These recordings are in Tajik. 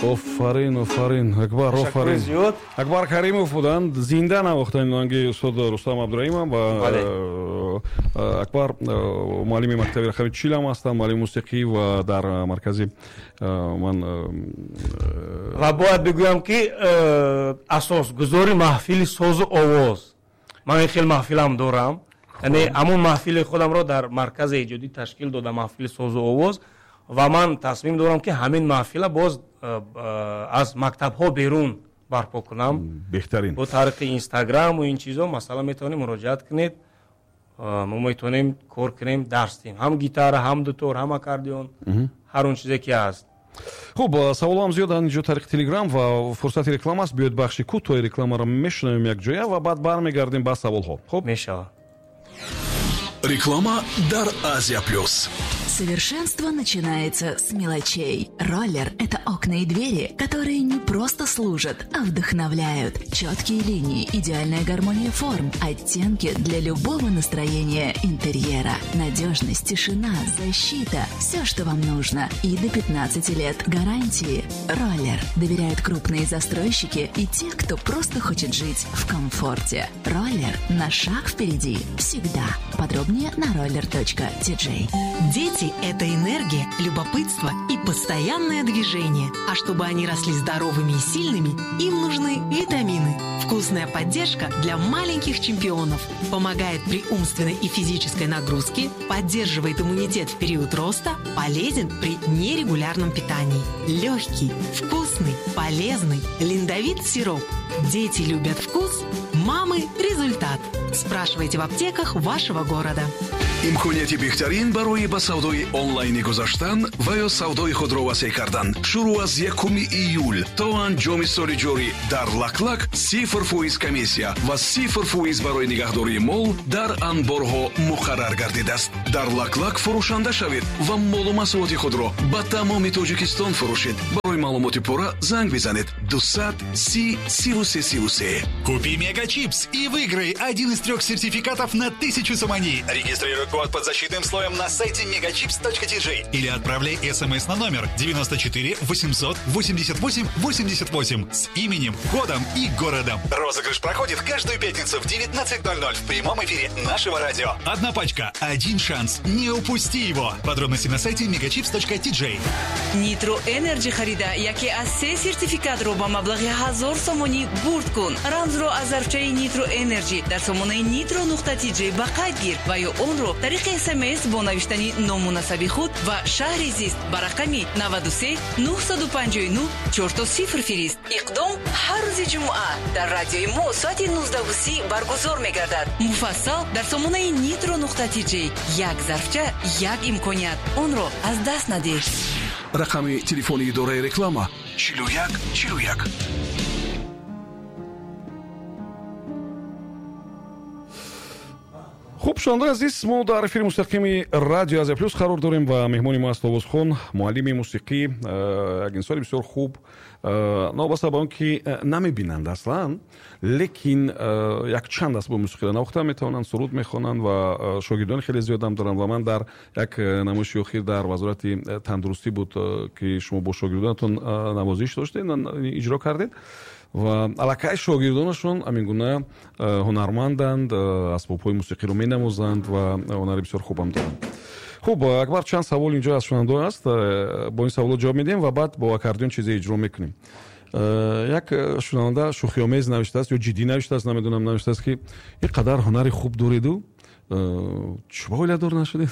Офарин, офарин, Акбар, офарин. Акбар Каримов буданд, зинда навохтани оҳанги устод Рустам Абдураимов ва Акбар муаллими мактаби рақами 40 ҳам ҳастанд, муаллими мусиқӣ ва дар маркази ман ва бояд бигӯям, ки асосгузори маҳфили созу овоз. Ман ин хел маҳфилам дорам. Яъне ҳамон маҳфили худамро дар маркази эҷодӣ ташкил додам, маҳфили созу овоз, ва ман тасмим дорам, ки ҳамин маҳфила боз аз мактабҳо берун барпо кунам. Беҳтарин. Бо тариқи Инстаграм ва ин чизо, масалан, метавонем муроҷиат кунед, мо метавонем кор кунем, дарс диҳем, ҳам гитара, ҳам дутор, ҳам аккордеон, ҳар он чизе ки ҳаст. Хуб, саволҳоам зиёданд инҷо тариқи Телеграм ва фурсати реклама аст. Биёед бахши кӯтоҳи рекламаро мешунавем якҷоя ва баъд бармегардем ба саволҳо. Хуб? Мешавад. Реклама дар Азия Плюс. Совершенство начинается с мелочей. Роллер – это окна и двери, которые не просто служат, а вдохновляют. Четкие линии, идеальная гармония форм, оттенки для любого настроения интерьера. Надежность, тишина, защита – все, что вам нужно. И до 15 лет гарантии. Роллер доверяют крупные застройщики и те, кто просто хочет жить в комфорте. Роллер на шаг впереди всегда. Подробнее на roller.tj. Дети – это энергия, любопытство и постоянное движение. А чтобы они росли здоровыми и сильными, им нужны витамины. Вкусная поддержка для маленьких чемпионов. Помогает при умственной и физической нагрузке, поддерживает иммунитет в период роста, полезен при нерегулярном питании. Легкий, вкусный, полезный Линдовит сироп. Дети любят вкус, мамы – результат. Спрашивайте в аптеках вашего города. Имконияти беҳтарин барои ба савдои онлайнӣ гузаштан ва ё савдои худро васеъ кардан шурӯъ аз 1 июл то анҷоми соли ҷорӣ дар Лаклак 0% комиссия ва 0% барои нигаҳдории мол дар анборҳо муқаррар гардидааст. Дар Лаклак фурӯшанда шавед ва молу маҳсулоти худро ба тамоми Тоҷикистон фурӯшед. Барои маълумоти пурра занг бизанед 200 30 33 33. Купи Мега Чипс и выиграй один из трех сертификатов на 1000 сомони. Регистрируй код под защитным слоем на сайте megachips.tj или отправляй смс на номер 94 888 88 с именем, годом и городом. Розыгрыш проходит каждую пятницу в 19:00 в прямом эфире нашего радио. Одна пачка, один шанс. Не упусти его. Подробности на сайте megachips.tj. Нитро Энерджи харида яке аз се сертификатро ба маблағи 1000 сомонӣ бурд кун. Рамзро аз зарфчаи Нитро Энерджи дар сомонаи nitro.tj ба қайд гир ва ё онро тариқи СМС бо навиштани ному насаби худ ва шаҳри зист ба рақами 93 959 00 фирист. Иқдом ҳар рӯзи ҷумъа дар радиои мо соати 19:30 баргузор мегардад. Муфассал дар сомонаи nitro.tj. Як зарфча, як имконият, онро аз даст надеҳ. Рақами телефони идораи реклама 41 41. Хуб, шунавандаи азиз, мо дар эфири мустақими Радио Азия Плюс қарор дорем ва меҳмони мо аст овозхон, муаллими мусиқӣ, як инсони бисёр хуб, новобаста ба он ки намебинанд аслан, лекин якчанд асбоби мусиқиро навохта метавонанд, суруд мехонанд ва шогирдони хеле зиёдам доранд. Ва ман дар як намоиши охир дар Вазорати тандурустӣ буд, ки шумо бо шогирдонатон навозиш доштед, иҷро кардед ва аллакай шогирдонашон ҳамин гуна ҳунарманданд, асбобҳои мусиқиро менавозанд ва ҳунари бисёр хубам доранд. Хуб, Акбар, чанд савол инҷо аз шунавандаҳо аст, бо ин саволо ҷавоб медиҳем ва баъд бо аккордеон чизе иҷро мекунем. Як шунаванда шӯхиомез навиштааст ё ҷиддӣ навиштааст, намедонам, навиштааст, ки ин қадар ҳунари хуб дореду чӯба оиладор нашудед?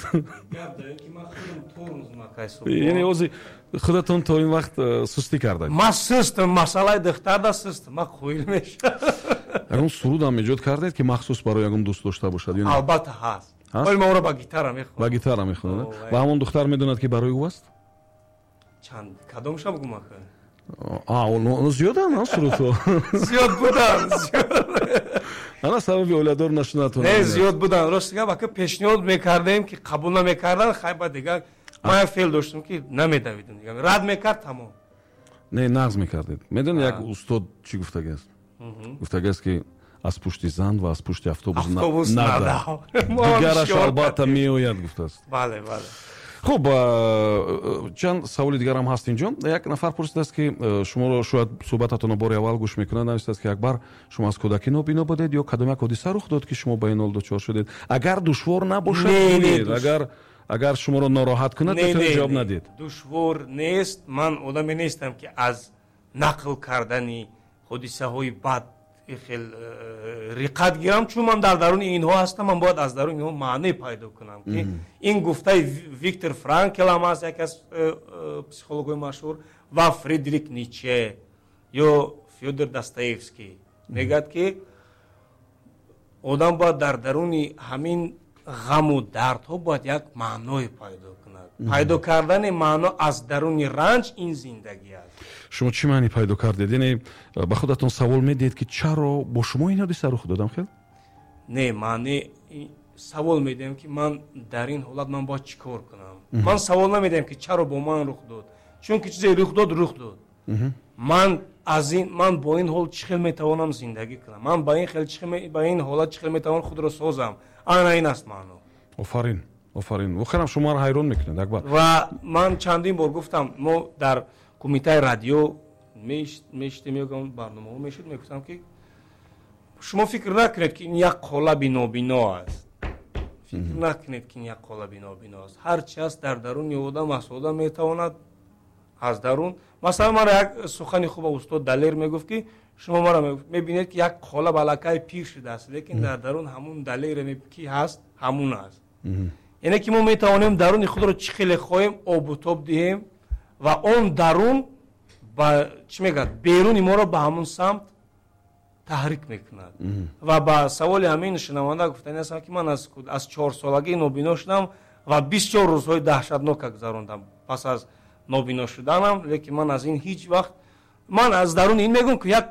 Яъне ози худатон то ин вақт сустӣ кардед? Ман сустам, масъалаи духтарда сустам, ман қоил мешавам. Ягон сурудам эҷод кардед, ки махсус барои ягон дӯст дошта бошад? Албатта, ҳаст. Вале ман ӯро ба гитара мехонам. Ба гитара мехонад ва ҳамон духтар медонад, ки барои ӯ аст? Чанд кадомша бугум ака? Оно зиёданд сурудҳо. Зиёд буданд. Ана сабаби оиладор нашунатон. Не, зиёд буданд, рости гап, ака, пешниҳод мекардем, ки қабул намекарданд. Хай, ба дигар ман як феъл доштам, ки намедавидам, рад мекард, тамом. Не, нағз мекардед. Медонед, як устод чӣ гуфтагиаст? Гуфтагиаст, ки аз пушти зан ва аз пушти автобус надав, дигараш албатта меояд, гуфтааст. Бале, бале. Хуб, чанд саволи дигарам ҳаст инҷо. Як нафар пурсидааст, ки шуморо шояд суҳбататонро бори аввал гӯш мекунад, навиштааст, ки Акбар, шумо аз кӯдакӣ нобино будед ё кадом як ҳодиса рух дод, ки шумо ба ин ҳол дучор шудед? Агар душвор набошад, гӯед, агар шуморо нороҳат кунад, метавонед ҷавоб надиҳед. Душвор нест. Ман одаме нестам, ки аз нақл кардани ҳодисаҳои бад хел риқат гирам, чун ман дар даруни инҳо ҳастам, ман бояд аз даруни инҳо маъне пайдо кунам, ки ин гуфтаи Виктор Франкл ҳам аст, яке аз психологҳои машҳур, ва Фридрих Ницше ё Фёдор Достоевский мегӯяд, ки одам бояд дар даруни ҳамин ғаму дардҳо бояд як маъное пайдо кунад. Пайдо кардани маъно аз даруни ранҷ ин зиндагӣ аст. Шумо чӣ маъне пайдо кардед? Яъне ба худатон савол медиҳед, ки чаро бо шумо ин ҳодиса рух додам хел? Не, маъне савол медиҳам, ки ман дар ин ҳолат ман бояд чӣ кор кунам. Ман савол намедиҳам, ки чаро бо ман рух дод, чунки чизе рух дод, рух дод. Ман аз ин, ман бо ин ҳол чӣ хел метавонам зиндагӣ кунам, ман ба ин хел ба ин ҳолат чӣ хел метавонам худро созам. Ана ин аст маъно. Офарин, офарин, воқеан шуморо ҳайрон мекунад, Акбар. Ва ман чандин бор гуфтам, мо дар кумитаи радио мешитем ё барномаҳо мешуд, мегуфтам, ки шумо фикр накунед, ки ин як қолаби нобино аст. Фикр накунед, ки ин як қолаби нобино аст. Ҳар чи аст, дар даруни одам аст. Одам метавонад аз дарун, масалан, мара як сухани хуба устод Далер мегуфт, ки шумо мара мебинед, ки як қолаб аллакай пир шудааст, лекин дар дарун ҳамун Далере ки ҳаст, ҳамун аст. Яъне ки мо метавонем даруни худро чӣ хеле хоҳем обу тоб диҳем ва он дарун ба чӣ мегӯяд, беруни моро ба ҳамун самт таҳрик мекунад. Ва ба саволи ҳамин шунаванда гуфтани ҳастам, ки ман аз 4-солагӣ нобино шудам ва бисёр рӯзҳои даҳшатнока гузарондам пас аз нобино шуданам, лекин ман аз ин ҳеҷ вақт, ман аз даруни ин мегӯям, ки як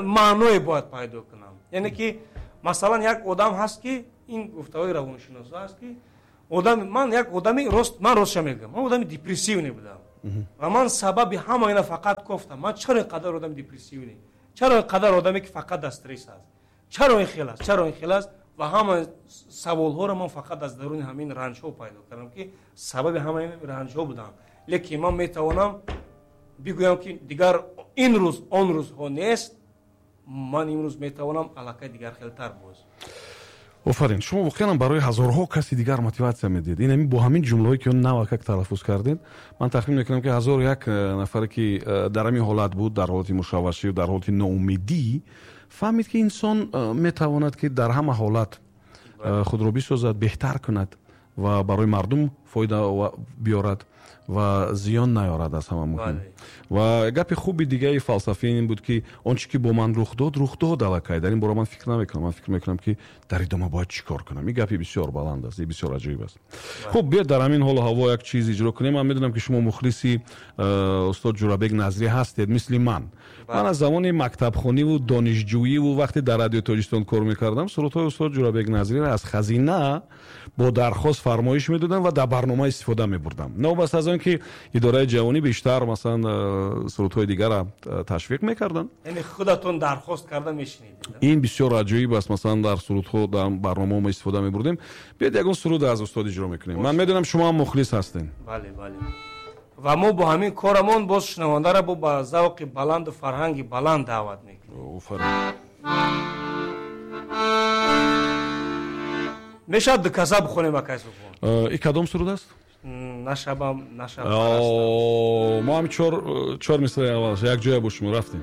маъное бояд пайдо кунам. Яъне ки масалан як одам ҳаст, ки ин гуфтаҳои равоншиносо аст, ки одам, ман як одами рост, ман ростша мегӯям, ман одами депрессивный будам ва ман сабаби ҳама ина фақат кофтам. Ман чаро ин қадар одами депрессивный, чаро ин қадар одаме, ки фақат дар стресс аст, чаро ин хел аст, чаро ин хел аст? Ва ҳама саволҳоро ман фақат аз даруни ҳамин ранҷҳо пайдо кардам, ки сабаби ҳамаи ранҷҳо будам. Лекин ман метавонам бигӯям, ки дигар ин рӯз он рӯзҳо нест, ман имрӯз метавонам аллакай дигар хелтар боз. Офарин, шумо воқеан барои ҳазорҳо каси дигар мотиватсия медиҳед. Ин бо ҳамин ҷумлаҳое, ки он навакак талаффуз кардед, ман тахмин мекунам, ки 1001 нафаре, ки дар ҳамин ҳолат буд, дар ҳолати мушаввашӣ, дар ҳолати ноумедӣ, фаҳмид, ки инсон метавонад, ки дар ҳама ҳолат худро бисозад, беҳтар кунад ва барои мардум фоида биёрад ва зиён наёрад, аз ҳама муҳим. Ва гапи хуби дигаи фалсафӣ ин буд, ки он чи ки бо ман рух дод, рух дод аллакай, дар ин бора ман фикр намекунам, ман фикр мекунам, ки дар идома бояд чӣ кор кунам. Ин гапи бисёр баланд аст, бисёр аҷоиб аст. Хуб, биёед дар ҳамин ҳолу ҳаво як чиз иҷро кунем. Ман медонам, ки шумо мухлиси устод Ҷурабек Назрӣ ҳастед, мисли ман. Ман аз замони мактабхониву донишҷӯиву вақте дар Радиои Тоҷикистон кор мекардам, сурудҳои устод Ҷурабек Назриро аз хазина бо дархост фармоиш медодам ва дар барнома истифода мебурдам. Новобаста аз он ки идораи ҷавонӣ бештар, масалан, сурудҳои дигара ташвиқ мекарданд. Яъне худатон дархост карда мешунидед? Ин бисёр аҷоиб аст. Масалан, дар сурудҳо, дар барномаҳо мо истифода мебурдем. Биёед ягон суруд аз устод иҷро мекунем. Ман медонам, шумо ҳам мухлис ҳастед. Бале, бале. Ва мо бо ҳамин корамон боз шунавандаро бо ба завқи баланду фарҳанги баланд даъват мекунем. Офарин. Мешавад дуказа бихонем, акай Субҳон? И кадом суруд аст? Нашабам, нашаб. Мо ҳам чор мисраи аввалаш якҷоя бо шумо рафтем.